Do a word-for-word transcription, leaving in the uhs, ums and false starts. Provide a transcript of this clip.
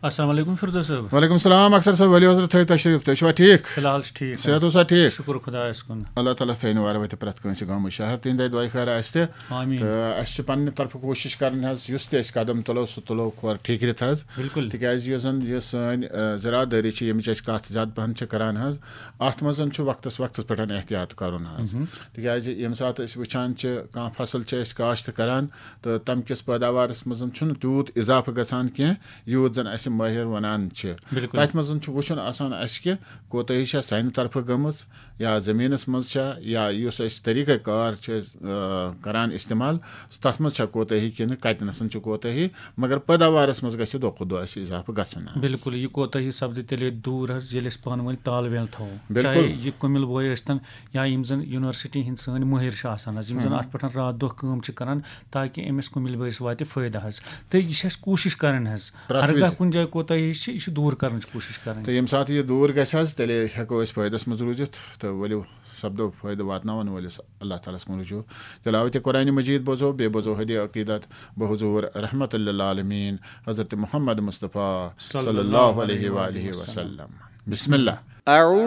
السلام علیکم فردوس صٲب۔ وعلیکم السلام اختر صٲب، ؤلِو حضرت تھٲیِو تشریف، تُہۍ چھِوا ٹھیٖک؟ فی الحال چھِ ٹھیٖک صحت حظ۔ اوسا ٹھیٖک؟ شُکُر خۄدایَس کُن۔ اللہ تعالیٰ تھٲینو وارٕ وَتہِ پرٛٮ۪تھ کٲنٛسہِ گامٕچ شہر تِہِنٛدِ دۄیہِ خٲرٕ آسہِ تہِ۔ آمیٖن۔ تہٕ اَسہِ چھِ پننہِ طرفہٕ کوٗشِش کرٕنۍ حظ، یُس تہِ أسۍ قدم تُلو سُہ تُلو کھۄر ٹھیٖکرِتھ حظ۔ بِلکُل۔ تِکیازِ یُس زن یہِ سٲنۍ آ، زِراعت دٲری چھِ، ییٚمِچ أسۍ کتھ زیادٕ پہن چھِ کران حظ، اتھ منٛز چھُ وقتس وقتس پٮ۪ٹھ احتیاط کرُن حظ۔ تِکیازِ ییٚمہِ ساتہٕ أسۍ وٕچھان چھِ کانٛہہ فصل چھِ أسۍ کاشت کران تہٕ تمہِ کِس پٲداوارس منٛز چھُنہٕ تیوٗت اضافہٕ گژھان کینٛہہ یوٗت زن اسہِ مٲہر ونان چھِ۔ بِلکُل۔ تتھ منٛز چھُ وٕچھُن آسان اسہِ کہِ کوتٲہی چھےٚ سانہِ طرفہٕ گٔمٕژ یا زٔمیٖنَس منٛز چھا، یا یُس أسۍ طریٖقہ کار چھِ أسۍ آ، کران استعمال، تَتھ منٛز چھا کوتٲہی کِنہٕ کَتہِ نَسَن چھِ کوتٲہی، مگر پٲداوارَس منٛز گژھِ دۄہ کھۄتہٕ دۄہ اَسہِ اضافہٕ گژھُن حظ۔ بِلکُل، یہِ کوتٲہی سپدِ تیٚلے دوٗر حظ، ییٚلہِ أسۍ پانہٕ ؤنۍ تال میل تھاوو۔ بِلکُل۔ چاہے یہِ کُمِل بوے ٲسۍتن یا یِم زَن یونیورسٹی ہِنٛدۍ سٲنۍ مٲہِر چھِ آسان حظ، یِم زَن اَتھ پٮ۪ٹھ راتھ دۄہ کٲم چھِ کران، تاکہِ أمِس کُمِل بٲیِس واتہِ فٲیدٕ حظ۔ تہٕ یہِ چھِ اَسہِ کوٗشِش کَرٕنۍ حظ۔ پرٛٮ۪تھ ہرگاہ وِزِ۔ کُنہِ جایہِ کوتٲہی چھِ، یہِ چھِ دوٗر کَرنٕچ کوٗشِش کَرٕنۍ۔ تہٕ ییٚمہِ ساتہٕ یہِ دوٗر گژھِ حظ، تیٚلے ہٮ۪کو أسۍ فٲیدَس منٛز روٗزِتھ تہٕ ؤلِو سپدو فٲیدٕ واتناوَن وٲلِس اللہ تعالیٰ ہَس کُن رجوع۔ تِلاوتِ قرآنِ مجیٖد بوزو، بیٚیہِ بوزو حدِ عقیٖدت بحضور رحمت للعالمین حضرت محمد مصطفیٰ صلی اللہ علیہ وآلہ وسلم۔ بسم اللہ۔ أعوذ